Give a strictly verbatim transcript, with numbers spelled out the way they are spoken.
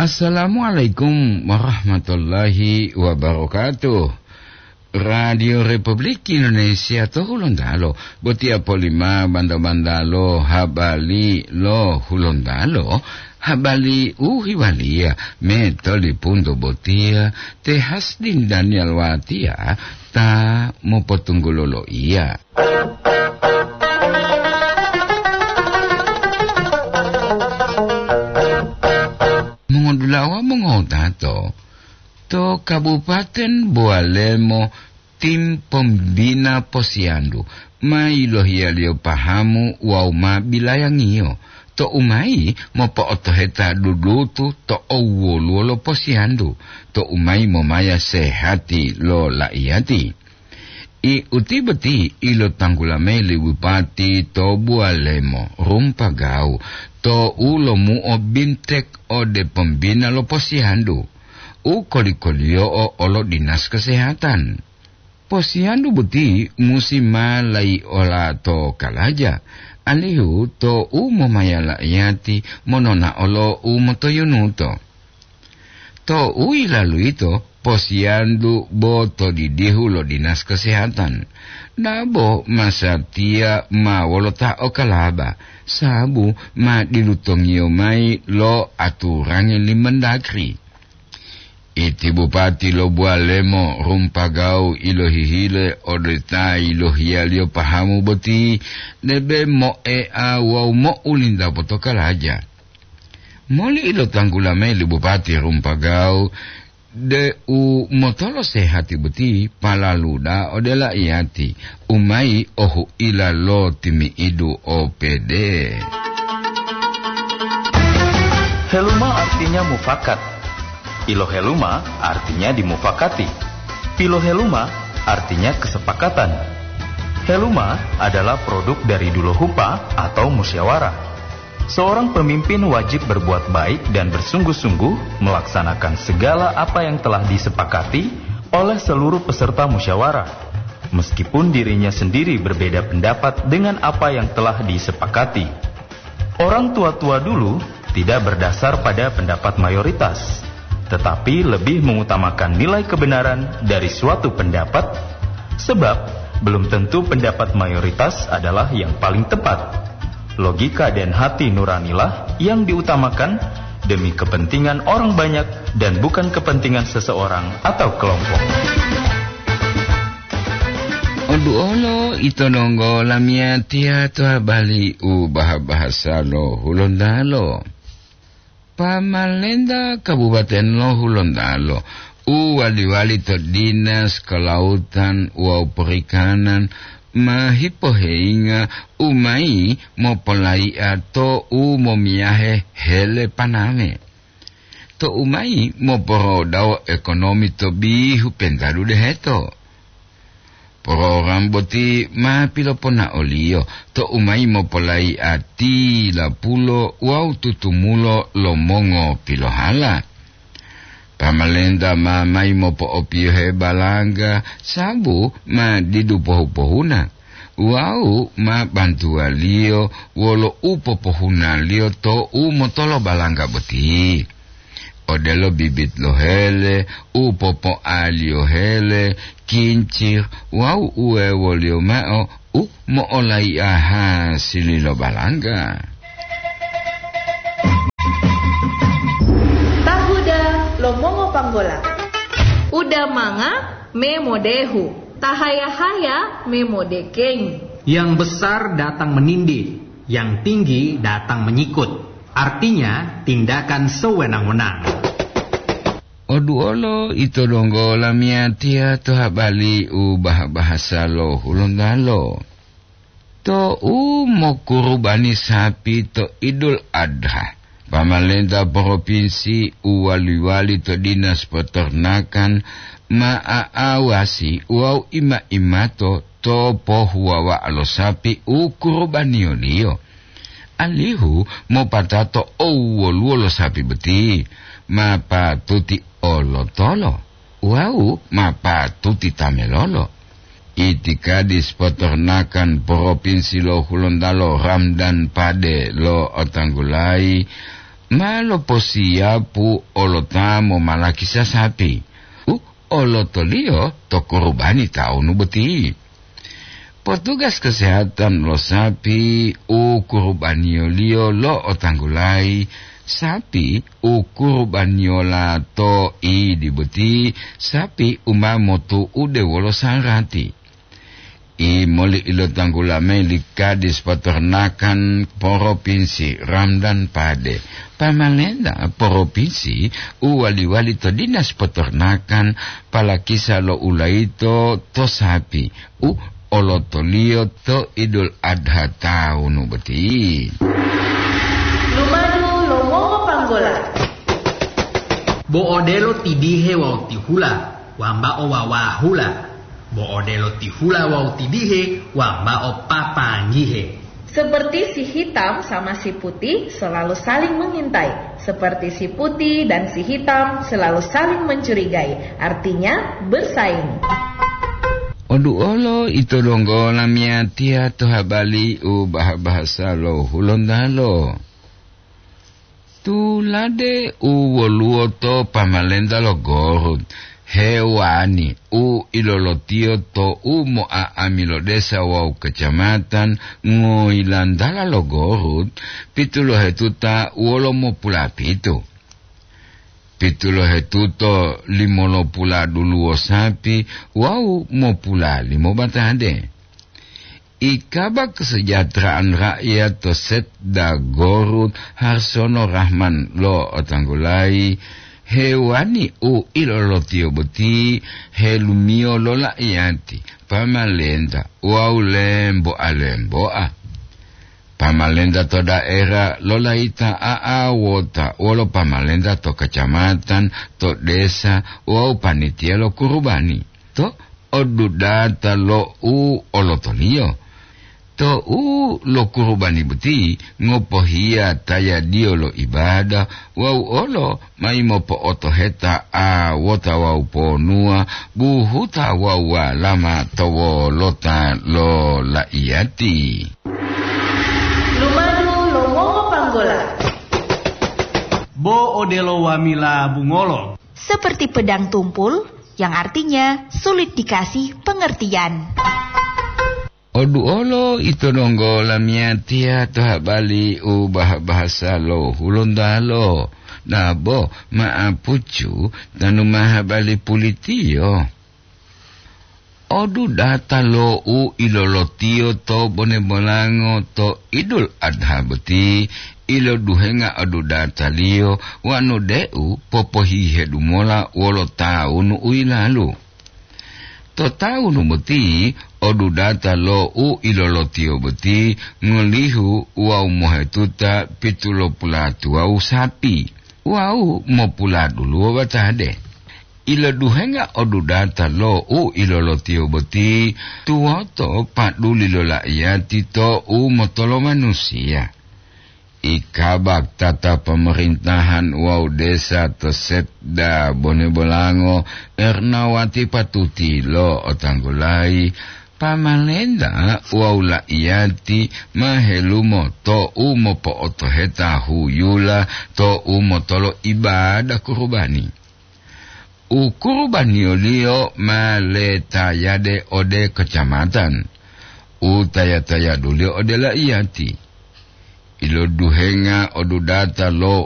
Assalamualaikum warahmatullahi wabarakatuh. Radio Republik Indonesia to Hulontalo, botiya polima banda-bandalo habari lo Hulontalo, habari u hiwaliya me tolipunto botiya te Hasdin Daniel Watiya ta mopotunggulo loiya. Mongodulawa mongotato, to Kabupaten Bowalemo, tim pembina posiyandu ma yilohiyaliyo pahamu wawu ma bilayangiyo, to umayi mopo'otoheta dudutu to owoluwo lo posiyandu, to umayi momaya sehati lo laiyati. I uti boti ilotanggula mayi li bupati to Buwalemo Rumpagawu to u lomuo bintek ode pembina lo posiyandu, u koli-koliyo'o olo dinas kesehatan. Posiyandu boti musi ma laiola to kalaja, alihu to u momaya laiyati mononao lo u motoyunuto. To u yilalu yito, posiyandu bo to didihu lo dinas kesehatan. Dabo masatiya ma wolo ta okalaba, sabu ma dilutongiyo mayi lo aturangi li Mendagri. Iti bupati lo Buwalemo Rumpagawu ilohihile ode ta yilohiyaliyo pahamu boti, debe moea wawu mo'ulinta potokalaja. Moli ilotanggula mayi li Bupati Rumpagawu deu motolo sehati boti palaluda ode laiyati, umayi ohuila lo timi'idu O P D. Heluma artinya mufakat. Piloheluma artinya dimufakati. Piloheluma artinya kesepakatan. Heluma adalah produk dari duluhupa atau musyawarah. Seorang pemimpin wajib berbuat baik dan bersungguh-sungguh melaksanakan segala apa yang telah disepakati oleh seluruh peserta musyawarah, meskipun dirinya sendiri berbeda pendapat dengan apa yang telah disepakati. Orang tua-tua dulu tidak berdasar pada pendapat mayoritas, tetapi lebih mengutamakan nilai kebenaran dari suatu pendapat, sebab belum tentu pendapat mayoritas adalah yang paling tepat. Logika dan hati nuranilah yang diutamakan demi kepentingan orang banyak dan bukan kepentingan seseorang atau kelompok. Oduolo ito donggo lamiyatiya to habari u baha-bahasa lo Hulontalo. Pamalenta Kabupaten lo Hulontalo u wali-wali to Dinas Kelautan wawu Perikanan ma hipoheyinga u mayi mopolayi'a to u momiyahe hele paname, to u mayi moporodawo ekonomi to bihu pentadu deheto. Program boti ma piloponaoliyo to u mayi mopolayi'a tilapulo wawu tutumulo lo mongopilohala. Pamalenta ma mayi mopo'opiyohe balangga sabu ma didu pohu-pohuna wawu ma bantuwaliyo wolo u popohunaliyo to u motolo balangga boti, odelo bibit lo hele, u popoaliyo hele, kincir wawu uwewoliyo mao u mo'olayi'a hasili lo balangga. Tahuda lo mongopanggola. Uda manga me modehu, tahaya-haya me modekengi. Yang besar datang menindih, yang tinggi datang menyikut. Artinya, tindakan sewenang-wenang. Oduolo ito donggo lamiyatiya to habari u baha-bahasa lo Hulontalo. To u mokurubani sapi to Idul Adha, pamalenta propinsi u wali-wali to Dinas Peternakan ma aawasi wawu ima-imato to pohuwawa'a lo sapi u kurubaniyoliyo, alihu mopatato owoluwo lo sapi boti ma patuti olotolo wawu ma patuti tamelolo. Itikadis Peternakan Propinsi lo Hulontalo Ramdan Pade lo'otanggulayi Ma loposiyapu olota momalakisa sapi u olotoliyo to kurubani tawunu boti. Potugas kesehatan lo sapi u kurubaniyoliyo lo'otanggulayi, sapi u kurubaniyola to idi boti, sapi u ma motu'ude wolo sarati. Imoli ilotanggula mayi li Kadis Peternakan Poropinsi Ramdan Pade, pamalenta poropinsi u wali-wali to Dinas Peternakan palakisa lo ulayito to sapi u olotoliyo to Idul Adha tawunu boti. Lumadu lo mongopanggola. Bo odelo tidihe wawu tihula, wambao wawahula. Bo odelo tihula wawu tidihe, wambao papanggihe. Seperti si hitam sama si putih selalu saling mengintai, seperti si putih dan si hitam selalu saling mencurigai, artinya bersaing. Oduolo ito donggo lamiyatiya to habali u baha-bahasa lo Hulontalo. Tulade u woluwo to pamalenta lo Gorut, hewani u ilolotiyo to u mo'a'ami lo desa wawu kacamatan ngoyilantala lo Gorut, pitulohetuta wolo mopulapitu. Pitulohetuto limolopula duluwo sapi wawu mopula limo batade. Ikaba kesejahteraan rakyat to Setda Gorut Harsono Rahman lo'otanggulayi hewani u ilolotiyo boti helumiyo lo la'iyati, pamalenta wawu lemboa-lemboa. Pamalenta to daera lolayita a'awota wolo pamalenta to kacamatan, to desa wawu panitiya lo kurubani to odudata lo u olotoliyo. To u lo kurubani boti ngopohiya tayadiyo lo ibada wawu olo mayi mopo'otoheta awota wawu ponuwa buhuta wawu walama to wolota lo laiyati. Lumadu lo mongopanggola. Bo odelo wamila bungolo. Seperti pedang tumpul, yang artinya sulit dikasih pengertian. Oduolo ito donggo lamiyatiya to habali u baha-bahasa lo Hulontalo, dabo ma'apucu tanu ma habali pulitiyo. Odudata lo u ilolotiyo to bone bolango to Idul Adha boti, iloduhenga odudataliyo wanu deu popohihedu mola wolo tawunu u yilalu. To tawunu boti, odudata lo u ilolotiyo boti ngolihu wawu mohetuta pitulopulatuwawu sapi wawu mopuladuluwo batade. Iloduhenga odudata lo u ilolotiyo boti tuwoto paduli lo laiyati to u motolo manusiya. Ikabak tata pemerintahan wawu desa to Setda Bone Bolango, Ernawati Patuti lo'otanggulayi, pamalenta wawu laiyati ma helumo to u mopo'otoheta huyula to u motolo ibada kurubani. U kurubaniyoliyo ma letayade ode kacamatan, u taya-tayaduliyo ode laiyati. Iloduhenga odudata lo